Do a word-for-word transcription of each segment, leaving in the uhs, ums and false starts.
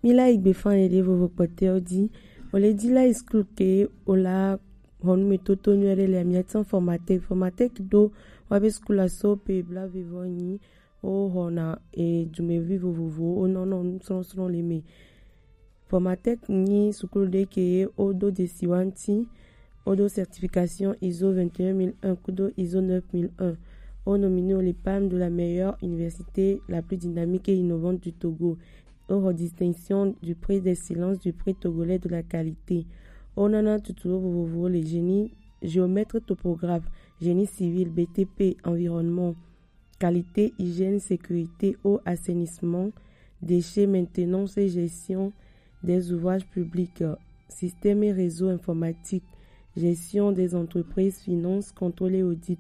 Ila igbe fan ede vovo kpɔtɛwo di. Ole di la iskul ke ola hɔnu me toto nyuie ɖe le amiatsan formatek. Formatek ɖo wa be skul aso pe bla vivɔ nyi o hɔna e dumevi vovovo o nɔnɔ nusrɔsrɔ le me. Formatek nyi sukulu ɖe ke o do desi wa ŋti o do certification iso vingt et un mille un kudo iso neuf mille un. O nominé o le palme de la meilleure université la plus dynamique et innovante du Togo. O hɔ distinction du prix d'excellence du prix togolais de la qualité. O nana tutuwo vovovowo le génie, géomètre topographe, génie civil, B T P, environnement, qualité, hygiène, sécurité, eau, assainissement, déchets, maintenance et gestion des ouvrages publics, système et réseau informatique, gestion des entreprises, finance, contrôle et audit,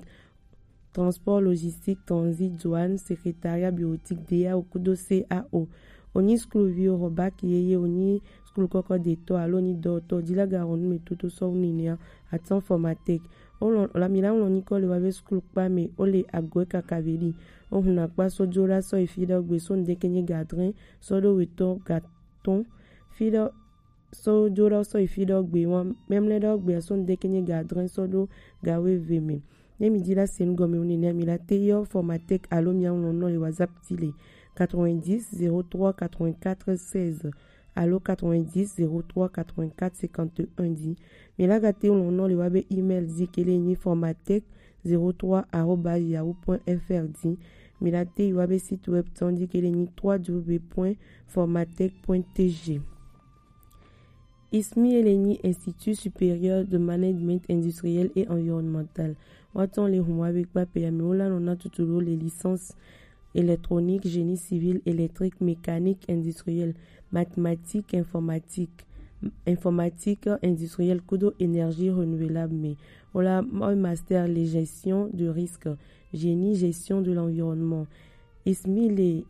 transport, logistique, transit, douane, secrétariat bureautique, D A O kudo C A O. Onyi skuluviwo hɔ baki yeye, onyi skulu kɔkɔ detɔ alo onyi dɔwɔtɔ, dilaga hɔnu me toto sɔ wu ninea, atan formatek. O lɔn la mi la ŋlɔ nyikɔ le wa be skulu kpa me o le agoe kaka ve di. O hun akpa so jo la sɔ yi fi ɖe gbe so ŋdeke nye gadrin sɔ ɖo wetɔ gatɔn fi ɖe so jo ɖe sɔ yi fi ɖe gbe wa memle ɖe gbe so ŋdeke nye gadrin sɔ ɖo gawe ve me. Ne mi di la se nu gɔme o nene mi la te yɔ formatek alo mi aŋlɔ nɔ le WhatsApp ti le quatre-vingt-dix zéro trois quatre-vingt-quatre seize alo quatre-vingt-dix zéro trois quatre-vingt-quatre cinquante et un di. Mi la ga te ŋlɔ nɔ le wa be email di ke le nyi formatek zéro trois arobase yahoo point F R di. Mi la te yi wa be site web tɔn di ke le nyi trois W point formatek point T G. I S M I e le nyi Institut Supérieur de Management Industriel et Environnemental. Wa tɔn le hun wa be kpa pe ya mi wo la nɔ na tutu lo le licence électronique, génie civil, électrique, mécanique, industriel, mathématiques, informatique, informatique industrielle kudo énergie renouvelable me. Wala master les gestion de risque, génie gestion de l'environnement. I S M I le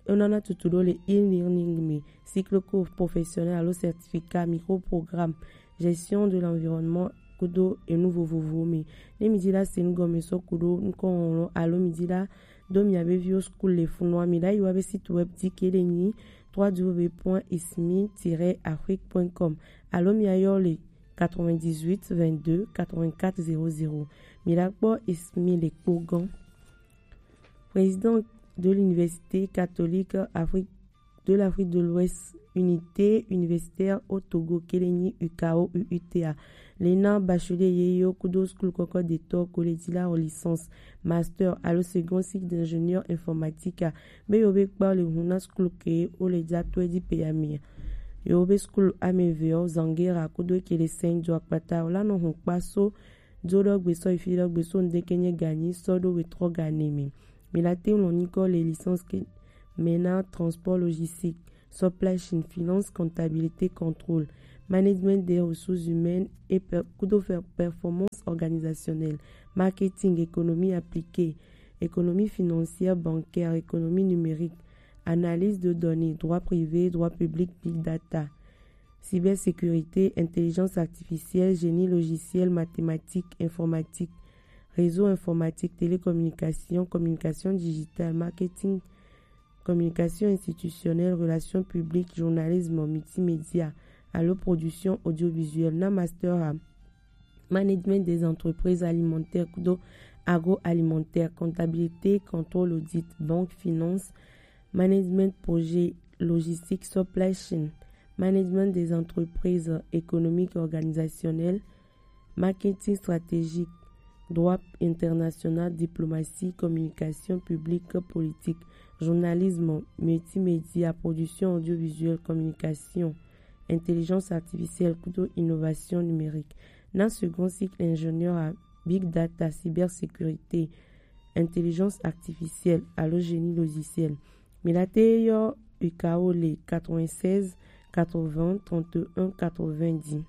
onana tutu ɖo le e-learning me, cycle cours professionnel alo certificat, microprogramme, gestion de l'environnement kudo enu vovovowo me. Ne mi di la se nu gɔme sɔ kudo nukɔ ŋlɔ alo mi di la do mia be viwo skul le funua mi la yi wa be site web di ke le nyi trois W point ismi tiret afrique point com alo mi ayɔ le quatre-vingt-dix-huit vingt-deux quatre-vingt-quatre zéro zéro. Mi la kpɔ I S M I le kpo gɔn. Président de l'Université catholique Afrique de l'Afrique de l'Ouest, Unité universitaire au Togo, ke le nyi U K O U U T A. Le na bachelier ye yo kudo skul kɔkɔ detɔ ko le di la licence, master alo second cycle d'ingénieur informatique a. Be yo be kpa le hun na skul ke o le ja to e di pe ya mi. Yo be skul ameve o Zangera kudo ke le Saint Joe Akpata o la nɔ hun kpa so jo ɖɔ gbe sɔ yi fi ɖɔ gbe so ŋdeke nye ganyi sɔ ɖo wetrɔ gane me. Mi la te ŋlɔ nyikɔ le licence ke me na transport logistique, supply chain, finance, comptabilité, contrôle, management des ressources humaines et per, kudo fer, performance organisationnelle, marketing, économie appliquée, économie financière bancaire, économie numérique, analyse de données, droit privé, droit public, big data, cybersécurité, intelligence artificielle, génie logiciel, mathématiques, informatique, réseau informatique, télécommunication, communication digitale, marketing, communication institutionnelle, relations publiques, journalisme, multimédia, alo production audiovisuelle, na master a management des entreprises alimentaires kudo agroalimentaire, comptabilité, contrôle, audit, banque, finance, management, projet, logistique, supply chain, management des entreprises économiques organisationnelles, marketing stratégique, droit international, diplomatie, communication publique, politique, journalisme, multimédia, production audiovisuelle, communication, intelligence artificielle kudo innovation numérique. Na second cycle ingénieur a big data, cybersécurité, intelligence artificielle alo génie logiciel. Mi la te yɔ U K O le quatre-vingt-seize quatre-vingts trente et un quatre-vingt-dix.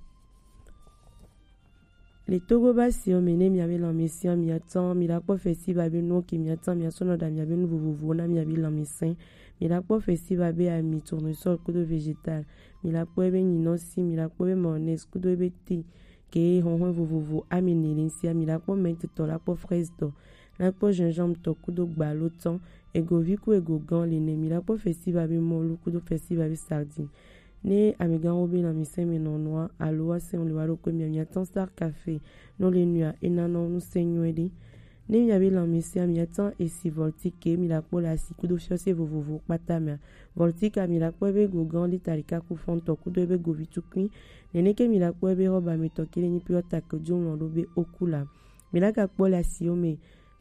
Le Togo ba si o me ne mia be lanmesian mia tan mi la kpɔ festival be nuwo ke mia tan mia sɔ nɔ ɖa mia be nu vovovowo na mia be lanmesɛn. Mi la kpɔ festival be ami, tournesol kudo végétal. Mi la kpɔ ebe nyinɔsi, mi la kpɔ ebe mayonnaise kudo ebe thé ke hɔhɔn vovovo ami ne le ŋsia. Mi la kpɔ menthe tɔ, la kpɔ fraise tɔ, la kpɔ gingembre tɔ kudo gbalo tɔn. Egovi ku egogan le ne, mi la kpɔ festival be mɔlu kudo festival be sardine. Ne amegan wo be na mi sɛn me nɔnɔa alo wa sɛn le wa ɖo kpe mi, mi atan Star Café no le nua e na nɔ nu sɛn nyuɛ ɖe. Ne mi abe lan mi sɛn mi atan esi Voltique mi la kpɔ le asi kudo fiɔse vovovo kpata mea. Voltique mi la kpɔ be gogan lita ɖeka ku fɔntɔ kudo be govi tukui. Nene ke mi la kpɔ be roba mi tɔ kele ni piɔ ta ke jo lɔ ɖo be oku la. Mi la ga kpɔ le asi o me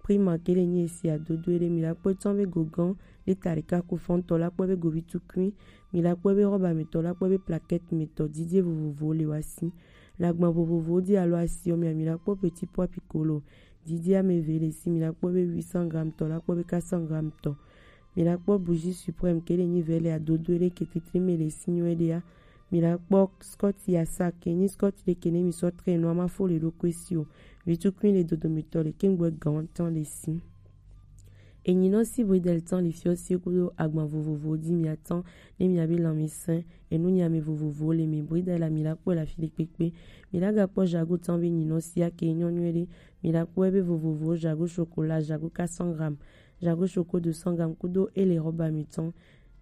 Prima ke le nyi esi adodo ɖe mi la kpɔ tɔn be gogan lita ɖeka ku fɔntɔ la kpɔ be govi tukui, mi la kpɔ be roba mi tɔ la kpɔ be plaquette mi tɔ didie vovovo le wa si. Le agban vovovo di alo asi o mi mi la kpɔ petit pois piccolo didie ame ve le si, mi la kpɔ be huit cents grammes tɔ la kpɔ be quatre cents grammes tɔ. Mi la kpɔ bougie suprême ke le nyi vɛ le adodo ɖe ke titri me le si nyuɛ ɖea. Mi la kpɔ scotch ya sa ke nyi scotch ɖe ke ne mi sɔ tre nɔ ama fo le ɖo kwe si o. Vitukui le dodo mi tɔ le ke ŋgbɛ gan tɔn le si. Enyi nɔ si bridel tɔn le fiɔ si kudo agban vovovo di mi atan ne mi abe lan mi sɛn enu nya mi vovovo le mi bridel la mi la kpɔ la fi le kpekpe. Mi la ga kpɔ jago tɔn be enyi nɔ si ake nyɔ nyuɛ ɖe. Mi la kpɔ ebe vovovo jago chocolat jago quatre cents grammes jago choco deux cents grammes kudo ele roba mi tɔn.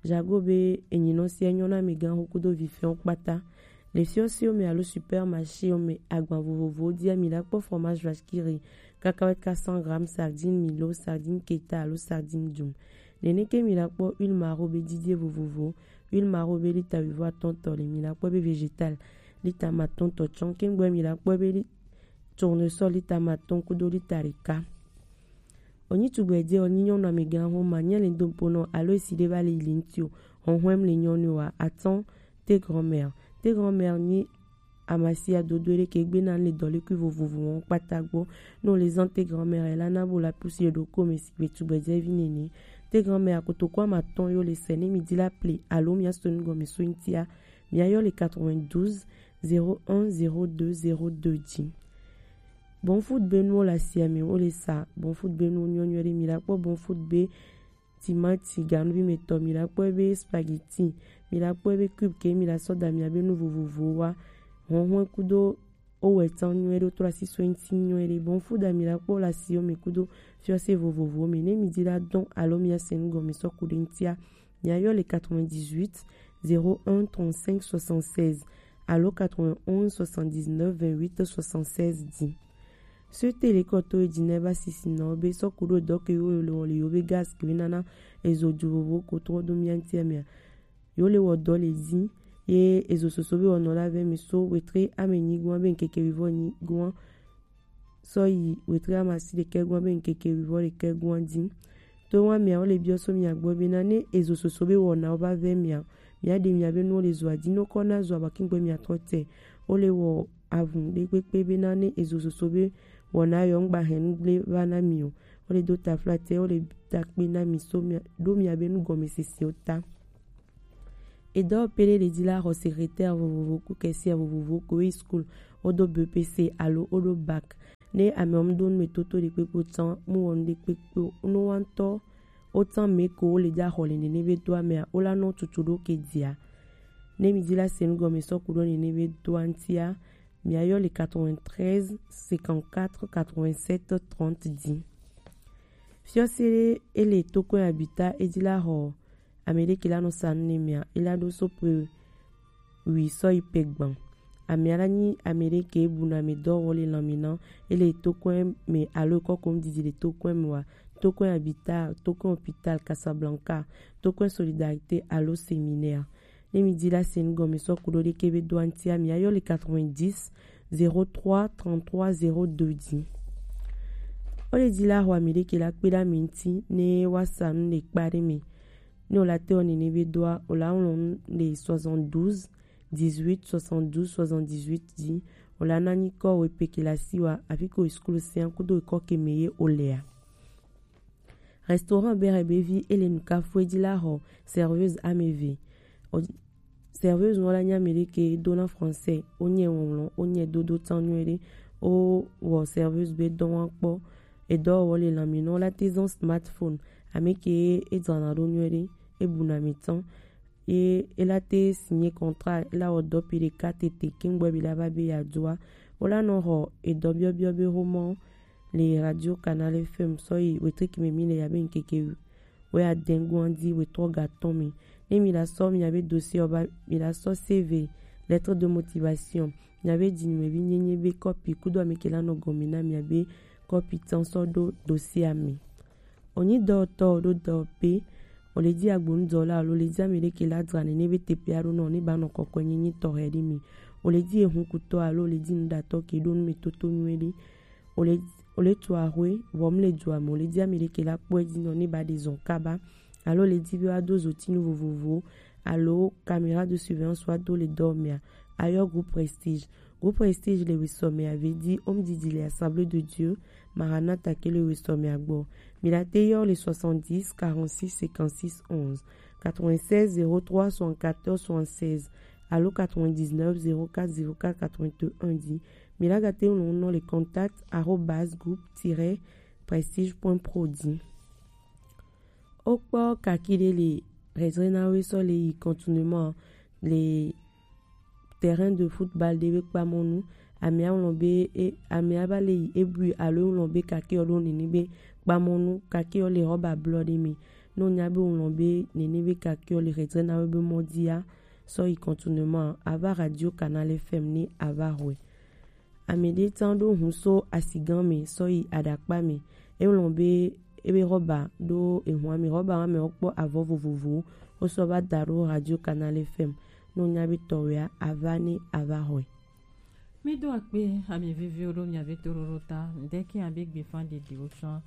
Jago be enyinɔ sia nyɔ na mi gan ho kudo vifɛn kpata. Le fiɔ si o me alo supermarché o me agban vovovo dia mi la kpɔ fromage vache qui rit, cacahuète quatre cents grammes, sardine milo, sardine keta alo sardine dum. Nene ke mi la kpɔ huile maro be didie vovovo, huile maro be lita wivo atɔntɔ le mi la kpɔ be végétal lita matɔntɔ tsɔn ke ŋgbɛ mi la kpɔ be li tournesol lita matɔn kudo lita ɖeka. Onyi tugbɛ je onyi nyɔnu amegã ho ma nye le do ponɔ alo esi ɖe va le yili ŋuti o. Hɔhɔm le nyɔnu wa atɔn te grand-mère. Te grand-mère nyi amasia dodo ɖe ke gbe na le dɔlekui vovovo wɔn kpata gbɔ. No le zan te grand-mère la na bo la pusi ɖo ko me si gbe tugbɛ je vi nene. Te grand-mère kotoko ama tɔn yo le sɛ ne mi di la ple alo mi aso nu gɔme so ŋutia. Mi ayɔ le quatre-vingt-douze zéro un zéro deux zéro deux dzi. Bon food be nuwo le asia me wo le sa. Bon food be nuwo nyɔ nyuie ɖe. Mi la kpɔ bon food be timati ganuvi me tɔ, mi la kpɔ be spaghetti, mi la kpɔ be cube ke mi la sɔ da mi abe nu vovovowo wa. Hɔhɔe kudo owɛ tsan nyuie ɖe, wotrɔ asi so ŋuti nyuie ɖe. Bon food a mi la kpɔ le asiwo me kudo fiɔse vovovowo me. Ne mi di la dɔn alo mi ase nu gɔme sɔ ku ɖe ŋutia, mi ayɔ le quatre-vingt-dix-huit zéro un trente-cinq soixante-seize alo quatre-vingt-onze soixante-dix-neuf vingt-huit soixante-seize dzi. Sete le kɔ to edzi na eva sisi na wo be sɔ ku ɖo dɔ ke wo le wɔ le yo be gaz ke nana ezo dzu vovo ko trɔ do mia ŋutia mea, yo le wɔ dɔ le dzi ye ezo soso be wɔnɔ la vɛ mi so wetre ame nyigoa be ŋkeke wivɔ nyigoa sɔ yi wetre amasi ɖekɛ goa be ŋkeke wivɔ ɖekɛ goa dzi. To wa mia wo le biɔ so mia gbɔ be na ne ezo soso be wɔna wo va vɛ mia, mia ɖe mia be nuwo le zoa dzi no kɔ na zoa ba kingbe mia trɔ te. Wo le wɔ avun ɖe kpekpe be na ne ezo soso be wɔna yɔ ŋgba hɛn nu gble va na mi o. Wo le do taflatɛ, wo le takpe na mi so mia ɖo mia be nu gɔme sese o ta. Edɔ pele le dzi la xɔ secrétaire vovovo ku caissière vovovo ko yi school wo do B P C alo wo do bac. Ne ame wo mu do nu me toto ɖe kpekpe o tsan mu wɔ nu ɖe kpekpe o no wa ŋutɔ wo tsan me ko wo le dza xɔ le nene be doa mea wo la nɔ tutu ɖo ke dzia. Ne mi dzi la se nu gɔme sɔ ku ɖo nene be doa ŋutia, mi ayɔ le quatre-vingt-treize cinquante-quatre quatre-vingt-sept trente dzi. Fiɔse ɖe ele tokɔe abita edzi la xɔ ame ɖe ke la nɔ sa nu ne mia, ela ɖo so pe wi sɔ yi pe gban. Amea la nyi ame ɖe ke bu na ame dɔ wɔ le lan mi na, ele tokɔe me alo kɔkom didi le tokɔe me wa, tokɔe abita, tokɔe hôpital Casablanca, tokɔe Solidarité alo séminaire. Ne mi di la se nu gɔme sɔ ku ɖo ɖe ke be doa ŋutia mi ayɔ le quatre-vingt-dix zéro trois trente-trois zéro deux dzi. Wo le di la xɔ ame ɖe ke la kpe ɖe ame ŋuti ne wa sa nu le kpa ɖe me. Ne wo la te wɔ nene be doa, wo la ŋlɔ nu le soixante-douze dix-huit soixante-douze soixante-dix-huit dzi. Wo la na nyi kɔ wo pe ke la si wa afi ko school sia kudo kɔ ke me ye wo lea. Restaurant Bere be vi ele nu kafu edzi la xɔ serveuse ame eve. O, serveuse wo la nye ame ɖe ke do na français, wo nye wɔwlɔ, wo nye dodo tsan nyuie ɖe. Wo wɔ serveuse be dɔ wa kpɔ. Edɔ wɔ le lan mi na wo la te zɔn smartphone. Ame ke e dzana ɖo nyuie ɖe, e bu na mi tsan. Ye ela te signer contrat, ela wɔ dɔ pi ɖeka tete kengbe bi la va be ya doa. Wo la nɔ xɔ edɔ biɔbiɔ be xomɔ le radio Canal F M sɔ yi wetriki me mi le ya be ŋkeke wɛ adɛngun adi wɛ trɔ ga tɔn mi. Ne mi la sɔ mi abe dossier ɔ ba mi la sɔ C V, lettre de motivation, mi abe di nume bi nyenye be kɔpi kudo ame ke la nɔ gɔme na mi abe kɔpi tɔn sɔ do dossier ame. Onyi dɔwɔtɔ ɖo dɔwɔƒe, o le di agbonudɔwɔla alo o le di ame ɖe ke la dzra nene be teƒe aɖo nɔ ne ba nɔ kɔkɔe nyenye tɔxɛ ɖe mi. O le di ehunkutɔ alo o le di nuɖatɔ ke ɖo nu me toto nyuie ɖe. O le o le tu axwe, vɔ mu le dua me, o le di ame ɖe ke la kpɔ edzi nɔ ne ba ɖe zɔn kaba, alo o le di be wa do zotinu vovovowo alo caméra de surveillance wa do le dɔ mea, ayɔ groupe Prestige. Groupe Prestige le wesɔ mea ve di Home Didi le Assemblée de Dieu, Maranatha ke le wesɔ mea gbɔ. Mi la te yɔ le soixante-dix quarante-six cinquante-six onze, quatre-vingt-seize zéro trois soixante-quatorze soixante-seize alo quatre-vingt-dix-neuf zéro quatre zéro quatre quatre-vingt-un di. Mi la ga te ŋlɔ nɔ le contact arobase groupe tiret prestige point pro di. Wokpɔ kaki ɖe le Redzre na we sɔ le yi contournement le terrain de football ɖe be kpamɔnu. Amea ŋlɔ be e, amea ba le yi ebui alo ŋlɔ be kaki ɔ ɖo nene be kpamɔnu, kaki ɔ le rɔba blɔ ɖe me. Ne o nya be o ŋlɔ be nene be kaki ɔ le Redzre na we be mɔ dia, sɔ yi contournement, a va Radio Canal F M ne a va xɔe. Ame ɖe tsan ɖo hun so asigan me sɔ yi aɖakpa me. E ŋlɔ be ebe rɔba ɖo ehun ame rɔba wa me wokpɔ avɔ vovovowo wosɔ va da ɖo Radio Canal F M. Ne o nya be tɔwɛa, a va ne a va xɔe. Mi do akpe ami viviwo ɖo mia ve toɖoɖo ta. Ŋdɛ ke abe gbefa ɖeɖewo tsɔ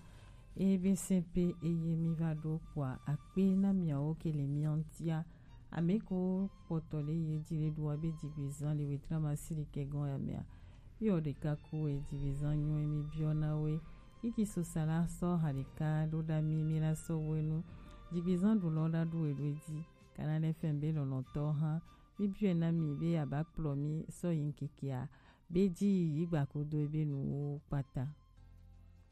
eye be sɛn pe eye mi va ɖo kpɔa akpe na miawo ke le mia ŋutia. Ame ko kpɔtɔ le ye di le ɖoa be dzigbezan le wetrama si ɖekɛ gɔn ya mea. Yɔ ɖeka ko e dzigbezan nyɔ mi biɔ na we. Iki so sala sɔ ha ɖeka ɖo ɖa mi mi la sɔ we nu. Dzigbezan ɖo lɔ ɖa ɖo e ɖo e di. Kana ne fɛn be lɔlɔtɔ hã. Mi biɔ na mi be aba kplɔ mi sɔ yi ŋkekea. Be dzi yi gba kodo ebe nuwo kpata.